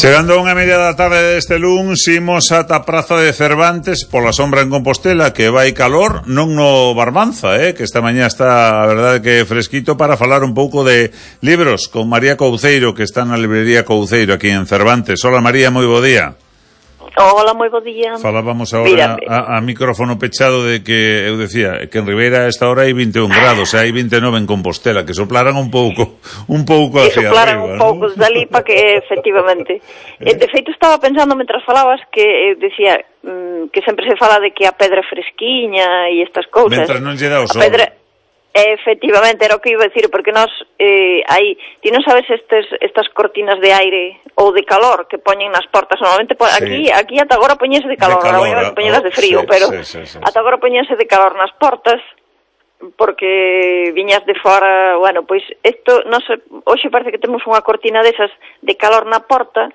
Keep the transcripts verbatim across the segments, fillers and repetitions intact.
Chegando a unha media da tarde deste luns, imos ata a Praza de Cervantes pola sombra en Compostela, que vai calor, non no Barbanza, eh, que esta mañá está, a verdade, que fresquito, para falar un pouco de libros con María Couceiro, que está na librería Couceiro aquí en Cervantes. Hola María, moi bo día. Hola, moi bo día. Falábamos agora a, a micrófono pechado de que, eu decía, que en Ribeira a esta hora hai vinte e un grados, e hai vinte e nove en Compostela, que soplaran un pouco, un pouco hacia arriba. Que soplaran un pouco, ¿no? Dali para que, efectivamente. eh? De feito, estaba pensando, mentras falabas, que decía mm, que sempre se fala de que a pedra fresquiña e estas cousas. Mentras non lle dá o sol. Pedra... Efectivamente, era o que iba a decir, porque nós eh, hai, ti non sabes estes, estas cortinas de aire ou de calor que poñen nas portas, normalmente po, sí. aquí aquí ata agora poñese de calor, de calor agora vai poñelas de frío, sí, pero sí, sí, sí, ata agora poñese de calor nas portas, porque viñas de fora, bueno, pois isto, non sei, hoxe parece que temos unha cortina desas de calor na porta,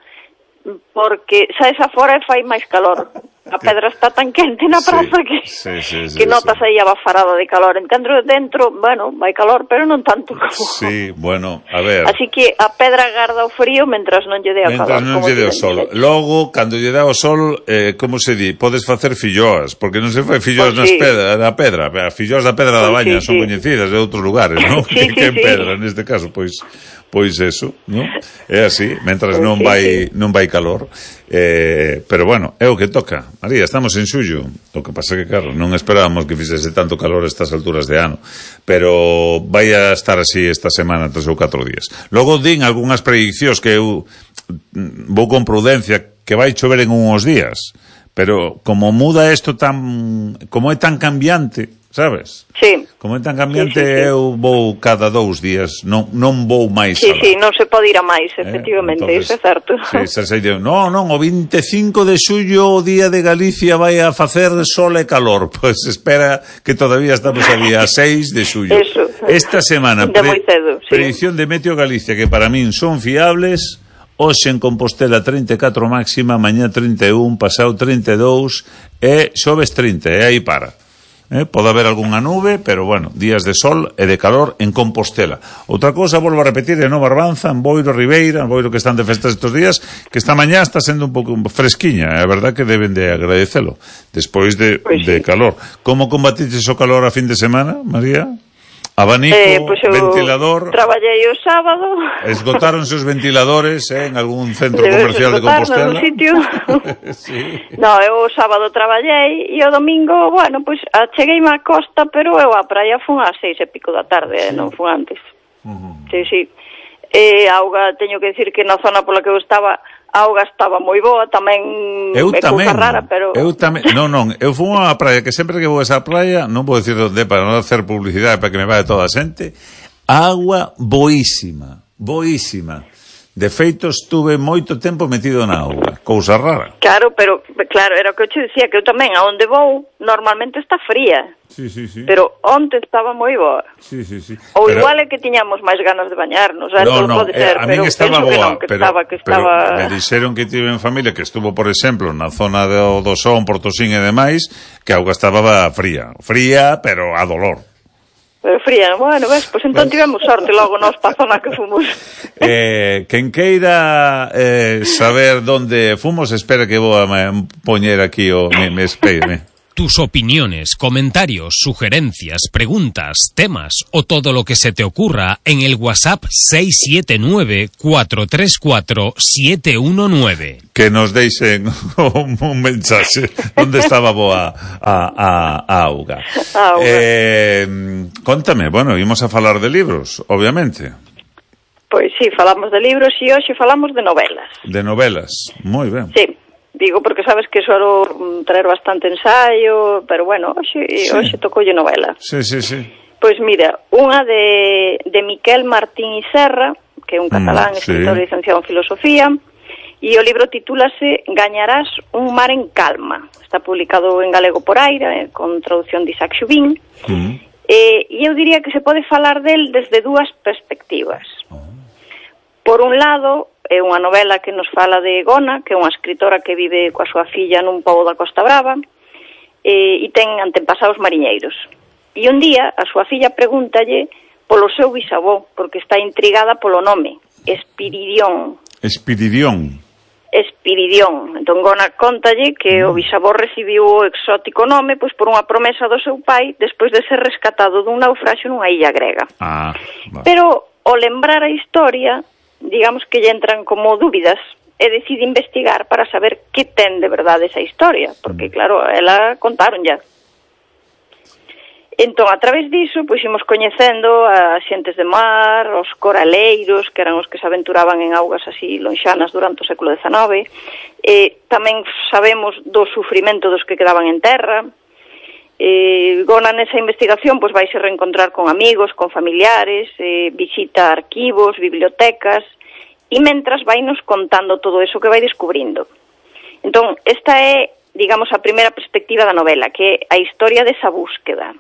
porque saes afora e fai máis calor. A pedra está tan quente na praza sí, que, sí, sí, sí, que notas sí. aí a bafarada de calor. En dentro, dentro, bueno, vai calor, pero non tanto como... Sí, bueno, a ver... Así que a pedra garda o frío mentras non lle dé o calor. Mentras non lle dé o sol. Logo, cando lle dá o sol, eh, como se di, podes facer filloas, porque non se fai filloas pues nas sí. pedra, na pedra. As filloas da Pedra da Baña pues sí, son sí. coñecidas de outros lugares, non? Sí, que, sí, que en sí. pedra, neste caso, pois... Pois eso, non? É así, mentras non vai non vai calor. Eh, pero bueno, é o que toca. María, estamos en xullo. O que pasa que, claro, non esperábamos que fixese tanto calor estas alturas de ano. Pero vai a estar así esta semana, tres ou catro días. Logo din algunhas prediccións que eu vou con prudencia, que vai chover en uns días. Pero como muda isto tan... como é tan cambiante, sabes? Sí. Como é tan cambiante, sí, sí, sí. eu vou cada dous días, non, non vou máis sí, alá. Sí, non se pode ir a máis, efectivamente, eh? Entonces, iso é certo. Sí, se sei, non, non, o vinte e cinco de xullo, o día de Galicia, vai a facer sol e calor. Pois pues espera que todavía estamos a día seis de xullo. Eso. Esta semana, pre, moi cedo, sí. predicción de Meteo Galicia, que para min son fiables. Hoxe en Compostela trinta e catro máxima, mañá trinta e un, pasado trinta e dous e xoves trinta, e aí para. Eh, pode haber algunha nube, pero bueno, días de sol e de calor en Compostela. Outra cousa, volvo a repetir, en Nova Barbanza, en Boiro, Ribeira, en Boiro, que están de festas estes días, que esta mañá está sendo un pouco fresquiña, é verdad que deben de agradecelo, despois de, pues sí. de calor. Como combatiches o calor a fin de semana, María? Abanico, eh, pues ventilador... Traballei o sábado... Esgotáronse os ventiladores eh, en algún centro Debes comercial de Compostela? Sitio. Sí. No, eu o sábado traballei e o domingo, bueno, pois pues, cheguei má costa, pero eu a praia fun ás seis e pico da tarde, sí. non fun antes. Uh-huh. Sí, sí. E a auga, teño que decir que na zona pola que eu estaba... A auga estaba moi boa, tamén eu é tamén, cousa rara, pero... Eu tamén, non, non, eu fui a praia, que sempre que vou a esa praia, non vou decir onde para non hacer publicidade para que me vaya toda a xente, agua boísima, boísima. De feito, estuve moito tempo metido na auga, cousa rara. Claro, pero, claro, era o que eu te decía, que eu tamén, a onde vou, normalmente está fría. Sí, sí, sí. Pero onte estaba moi boa. Sí, sí, sí. Ou pero... igual é que tiñamos máis ganas de bañarnos, eh? No, no, pode ser, eh, a min pero estaba boa, que non, que pero, estaba, que pero estaba... me dixeron que tive en familia que estuvo, por exemplo, na zona do, do Son, Portosín e demais, que a auga estaba fría. Fría, pero a dolor. Pero fría, bueno, ves, pois pues entón tivemos sorte logo nos pa zona que fomos. eh, quen queira eh, saber donde fomos, espera que vou a poñer aquí o me, me espere. Tus opiniones, comentarios, sugerencias, preguntas, temas o todo lo que se te ocurra en el WhatsApp seis siete nueve, cuatro tres cuatro, siete uno nueve. Que nos deixen un, un mensaxe onde estaba boa a, a, a auga. Ah, eh, contame, bueno, ímos a falar de libros, obviamente. Pois sí, falamos de libros e hoxe falamos de novelas. De novelas, moi ben. Sí. Digo, porque sabes que suelo traer bastante ensaio, pero bueno, hoxe, sí. hoxe tocoulle novela. Sí, sí, sí. Pois mira, unha de, de Miquel Martín y Serra, que é un catalán, mm, escritor sí. licenciado en filosofía, e o libro titúlase Gañarás un mar en calma. Está publicado en galego por Aira, eh, con traducción de Isaac Xubín, mm. eh, e eu diría que se pode falar del desde dúas perspectivas. Oh. Por un lado, é unha novela que nos fala de Gona, que é unha escritora que vive coa súa filla nun pobo da Costa Brava, e, e ten antepasados mariñeiros. E un día, a súa filla pregúntalle polo seu bisavó, porque está intrigada polo nome, Espiridión. Espiridión. Espiridión. Entón Gona contalle que o bisavó recibiu o exótico nome pois por unha promesa do seu pai despois de ser rescatado dun naufraxio nunha illa grega. Ah, vale. Pero ao lembrar a historia, digamos que lle entran como dúbidas e decide investigar para saber que ten de verdade esa historia, porque claro, ela contaron ya. Entón, a través diso, pois imos coñecendo a xentes de mar, os coraleiros, que eran os que se aventuraban en augas así lonxanas durante o século dezenove, e tamén sabemos do sufrimento dos que quedaban en terra. E Gona nesa investigación pois vai se reencontrar con amigos, con familiares, eh, visita arquivos, bibliotecas, e mentras vai nos contando todo eso que vai descubrindo. Entón, esta é, digamos, a primeira perspectiva da novela, que é a historia desa búsqueda.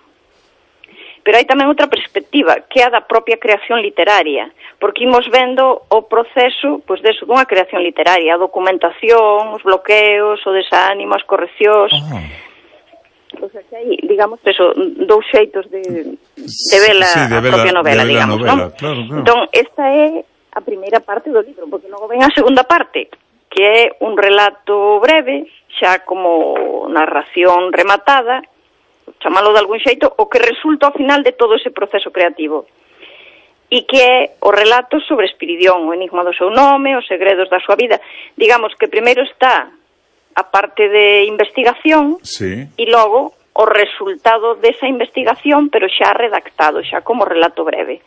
Pero hai tamén outra perspectiva, que é a da propia creación literaria, porque imos vendo o proceso, pois deso, dunha creación literaria, a documentación, os bloqueos, o desánimo, as correccións. Oh. O sea, que hai, digamos, eso, dous xeitos de, de ver a, sí, a propia novela, digamos, novela, non? Claro, claro. Entón, esta é a primeira parte do libro, porque logo ven a segunda parte, que é un relato breve, xa como narración rematada, chamalo de algún xeito, o que resulta ao final de todo ese proceso creativo. E que é o relato sobre Espiridión, o enigma do seu nome, os segredos da súa vida. Digamos que primeiro está a parte de investigación, sí, e logo o resultado desa investigación, pero xa redactado, xa como relato breve.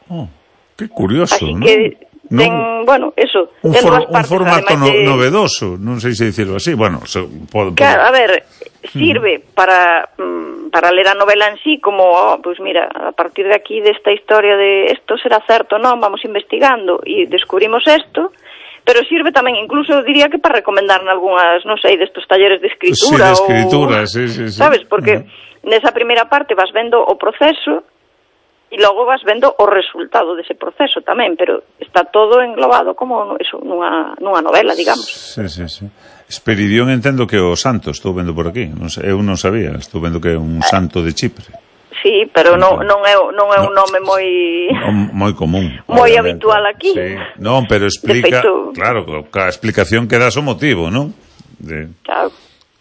Oh, que curioso, así ¿no? Que ten, no, bueno, eso, un, ten for, dúas partes, un formato no, de... novedoso, non sei se dicirlo así, bueno, se, pode, claro, a ver, sirve mm. para para ler a novela en sí, como, oh, pues mira, a partir de aquí, desta historia de esto será certo, non, vamos investigando e descubrimos esto, pero sirve tamén, incluso diría que para recomendar algunhas, non sei, destos talleres de escritura, sí, de escritura, ou, sí, sí, sí. sabes, porque uh-huh. nesa primeira parte vas vendo o proceso e logo vas vendo o resultado dese proceso tamén, pero está todo englobado como eso, nunha, nunha novela, digamos. Sí, sí, sí. Espiridión entendo que o santo, estou vendo por aquí, non sei, eu non sabía, estou vendo que é un santo de Chipre. Sí, pero non, non é, non é un nome moi... moi común. Moi habitual aquí. Sí. Non, pero explica... Feito... Claro, a explicación que das o motivo, non? De... Claro.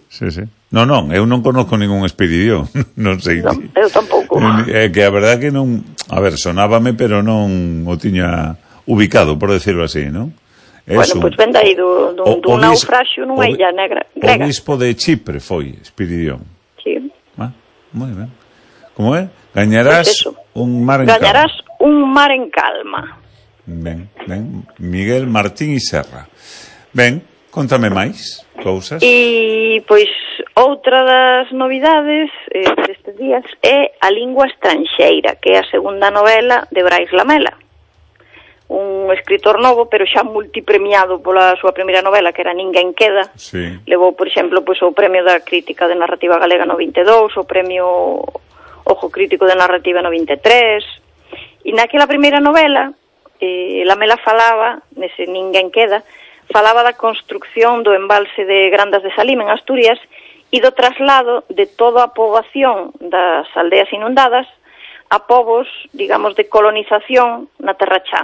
Sí, sí. Non, non, eu non conozco ningún Espiridión, non sei. Non, eu tampouco. É que a verdad que non... A ver, sonábame, pero non o tiña ubicado, por decirlo así, non? Bueno, pois pues ven aí dun, dun, dun naufraxio nunha illa negra. O bispo de Chipre foi Espiridión. Sí. Ah, moi ben. Como é? Gañarás pues un mar en Gañarás calma. un mar en calma. Ben, ben. Miguel Martín y Serra. Ben, contame máis cousas. E, pois, outra das novidades eh, destes días é A lingua estranxeira, que é a segunda novela de Brais Lamela. Un escritor novo, pero xa multipremiado pola súa primeira novela, que era Ninguén queda. Sí. Levou, por exemplo, pois, o premio da crítica de narrativa galega no vinte e dous, o premio Ojo Crítico de Narrativa no vinte e tres. E naquela primeira novela, eh, Lamela falaba, nese Ninguén queda, falaba da construcción do embalse de Grandas de Salim en Asturias e do traslado de toda a poboación das aldeas inundadas a povos, digamos, de colonización na Terra Chá.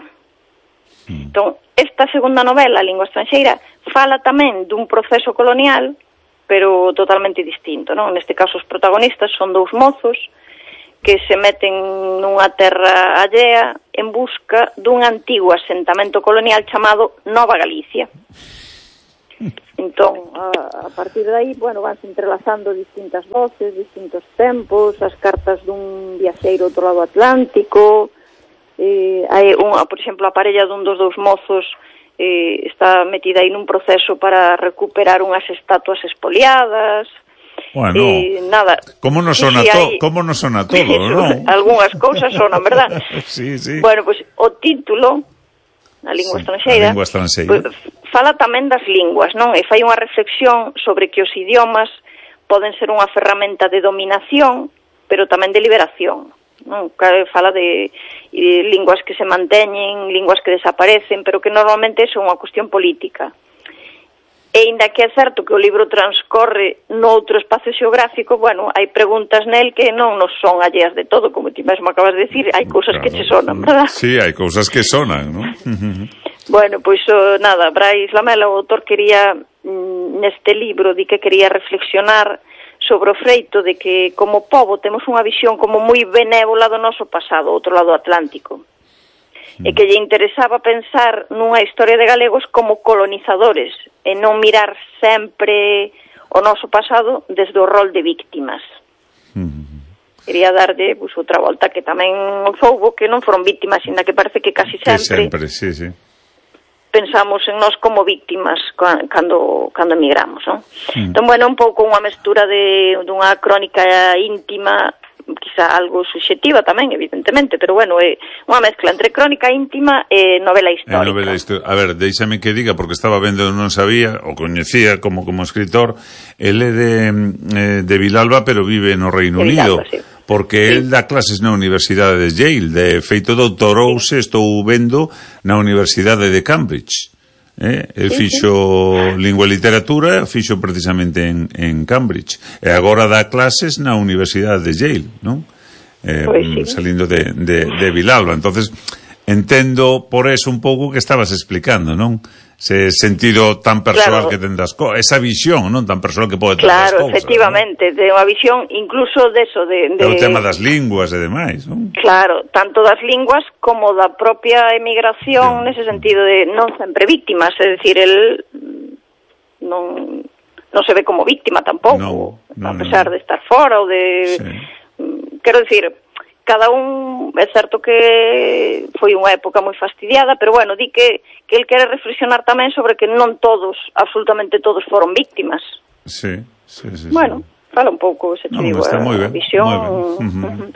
Entón, esta segunda novela, A lingua estranxeira, fala tamén dun proceso colonial, pero totalmente distinto, non? Neste caso, os protagonistas son dous mozos que se meten nunha terra allea en busca dun antigo asentamento colonial chamado Nova Galicia. Entón, a, a partir de aí, bueno, vanse entrelazando distintas voces, distintos tempos, as cartas dun viaxeiro outro lado Atlántico. Eh, hai unha, por exemplo, a parella dun dos dous mozos eh, está metida aí nun proceso para recuperar unhas estatuas expoliadas. Bueno, eh, nada. Como nos sona sí, sí, todo, hay... como nos sona todo, non? Algúnas cousas sonan, verdad? Sí, sí. Bueno, pois pues, o título, A lingua sí, estranxeira, a lingua estranxeira. Pues, fala tamén das linguas, non? E fai unha reflexión sobre que os idiomas poden ser unha ferramenta de dominación, pero tamén de liberación. Non, fala de, de linguas que se manteñen, linguas que desaparecen, pero que normalmente é unha cuestión política. E ainda que é certo que o libro transcorre noutro espacio xeográfico, bueno, hai preguntas nel que non nos son alleas de todo, como ti mesmo acabas de decir, hai cousas claro, que che sonan, verdad? Sí, hai cousas que sonan, non? Bueno, pois oh, nada, Brais Lamela, o autor quería mm, neste libro di que quería reflexionar sobre o feito de que como pobo temos unha visión como moi benévola do noso pasado, outro lado atlántico. E que lle interesaba pensar nunha historia de galegos como colonizadores e non mirar sempre o noso pasado desde o rol de víctimas. Mm. Quería darlle pues, outra volta que tamén soubo que non foron víctimas, sino que parece que casi sempre, que sempre sí, sí. pensamos en nós como víctimas cando, cando emigramos, non? Mm. Entón, bueno, un pouco unha mestura de dunha crónica íntima, quizá algo subxectiva tamén, evidentemente, pero bueno, é unha mezcla entre crónica íntima e novela histórica. Eh, novela histórica. A ver, deixame que diga, porque estaba vendo, non sabía, o coñecía como como escritor, el é de, eh, de Vilalba, pero vive no Reino Unido, sí. Porque sí. El dá clases na Universidade de Yale, de feito doutorouse, sí. Estou vendo na Universidade de Cambridge. Eh? El sí, fixo sí. Lingua e literatura, fixo precisamente en, en Cambridge, e agora dá clases na Universidade de Yale, non? Eh, pues sí. Salindo de, de, de Vilalba. Entonces entendo por eso un pouco que estabas explicando, non? Ese sentido tan persoal, claro, que ten das cousas, esa visión, non, tan persoal que pode ter, claro, das cousas. Claro, efectivamente, ¿no? De unha visión incluso de eso, de, de... O tema das linguas e demais, non? Claro, tanto das linguas como da propia emigración, sí. Nese sentido de non sempre víctimas, é dicir, el non, non se ve como víctima tampouco, no, no, a pesar no. de estar fora ou de... Sí. Quero dicir, cada un, é certo que foi unha época moi fastidiada, pero bueno, di que, que el quere reflexionar tamén sobre que non todos, absolutamente todos foron víctimas. Sí, sí, sí. Bueno, sí. Fala un pouco, se te no, digo, está moi ben, visión... moi ben. Uh-huh. Uh-huh.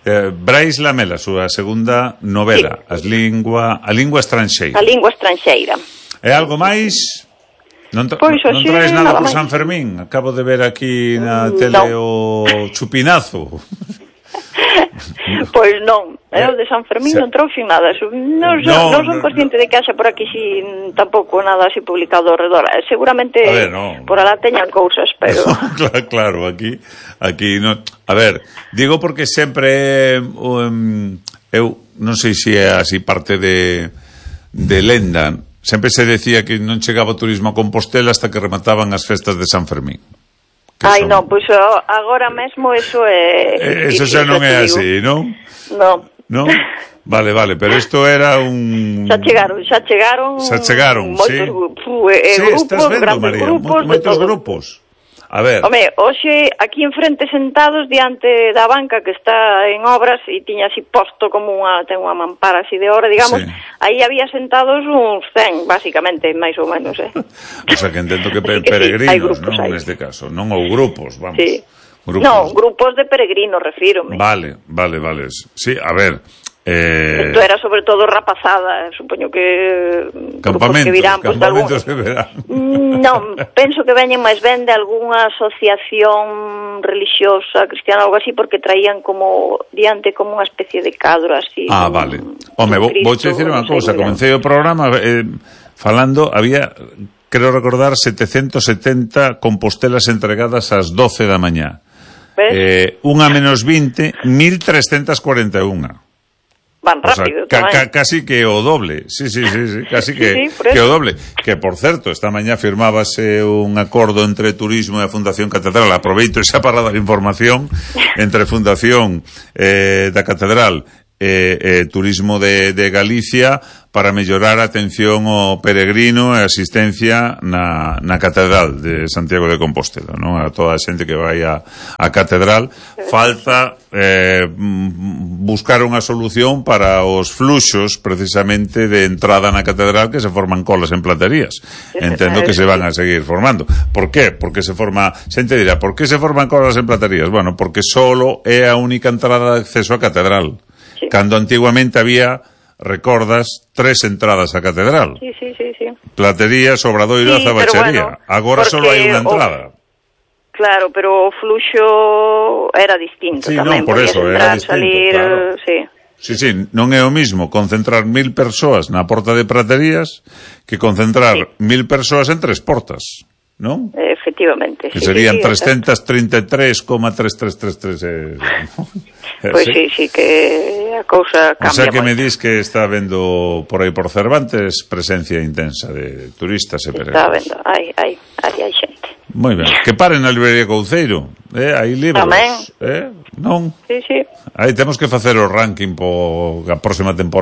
Eh, Brais Lamela, a súa segunda novela, sí. As lingua, a lingua estranxeira. A lingua estranxeira. E algo máis? Non, tra pois, non sí, traes nada, nada por máis. San Fermín? Acabo de ver aquí na tele no. O chupinazo. Pois non, eu de San Fermín non trouxe nada. Non, no, non son consciente no. de que haxa por aquí si tampouco nada así publicado ao redor. Seguramente ver, no. por alá teñan cousas, pero claro, claro, aquí aquí no. A ver, digo porque sempre um, eu non sei se é así parte de de lenda. Sempre se decía que non chegaba o turismo a Compostela hasta que remataban as festas de San Fermín. Ai, son... non, pois agora mesmo eso é... Eh, eso xa non é así, non? Non. Non? Vale, vale, pero isto era un... Xa chegaron, xa chegaron... Xa chegaron, moitos, sí. Fu, eh, sí, grupos, estás vendo, María, grupos, moitos grupos. A ver. Home, hoxe aquí enfrente sentados diante da banca que está en obras e tiña así posto como unha, ten unha mampara así de hora, digamos, sí. Aí había sentados uns cen, basicamente, máis ou menos, eh. O sea, que entendo que, pe que peregrinos, sí, grupos, non, neste caso, non, ou grupos, vamos. Sí. Grupos. No, grupos de peregrinos, refírome. Vale, vale, vale. Sí, a ver... Eh... Isto era sobre todo rapazada, supoño que campamentos, que virán, pues, campamentos de verán. Non, penso que veñen máis ben de algunha asociación religiosa cristiana, algo así, porque traían como diante como unha especie de cadro así. Ah, vale. Home, vou, vou te dicir unha cousa, comecei o programa eh, falando, había, creo recordar, setecentos setenta compostelas entregadas ás doce da mañá. Eh, unha menos vinte, mil trescentas cuarenta e unha. Van rápido, o sea, ca, ca, casi que o doble. Sí, sí, sí, sí casi que, sí, que o doble. Que, por certo, esta mañá firmábase un acordo entre Turismo e a Fundación Catedral. Aproveito esa para dar información entre Fundación eh, da Catedral e eh, eh, Turismo de, de Galicia para mellorar a atención ao peregrino e asistencia na, na Catedral de Santiago de Compostela, non? A toda a xente que vai a, a Catedral. Falta eh, buscar unha solución para os fluxos precisamente de entrada na Catedral, que se forman colas en platerías. Entendo que se van a seguir formando. Por qué? Porque se forma... Xente dirá, por que se forman colas en platerías? Bueno, porque solo é a única entrada de acceso á Catedral. Sí. Cando antiguamente había, recordas, tres entradas á Catedral. Sí, sí, sí, sí. Platería, Obradoiro, sí, Zabachería. Bueno, agora só hai unha entrada. O... Claro, pero o fluxo era distinto sí, tamén. Non, por eso, era distinto, salir, claro. Sí. Sí, sí, non é o mismo concentrar mil persoas na porta de Praterías que concentrar sí. mil persoas en tres portas, non? Eh, efectivamente. Que sí, serían sí, trescientos treinta y tres coma tres tres tres tres. Eh, Pois sí, sí, que a cousa cambia. O sea que moito. me dis que está vendo por aí por Cervantes presencia intensa de turistas e peregrinos. Está vendo, hai, hai, hai, hai xente. Moi ben, que paren na librería Couceiro, eh, hai libros, Tamén. eh, non? Sí, sí. Aí temos que facer o ranking po a próxima temporada.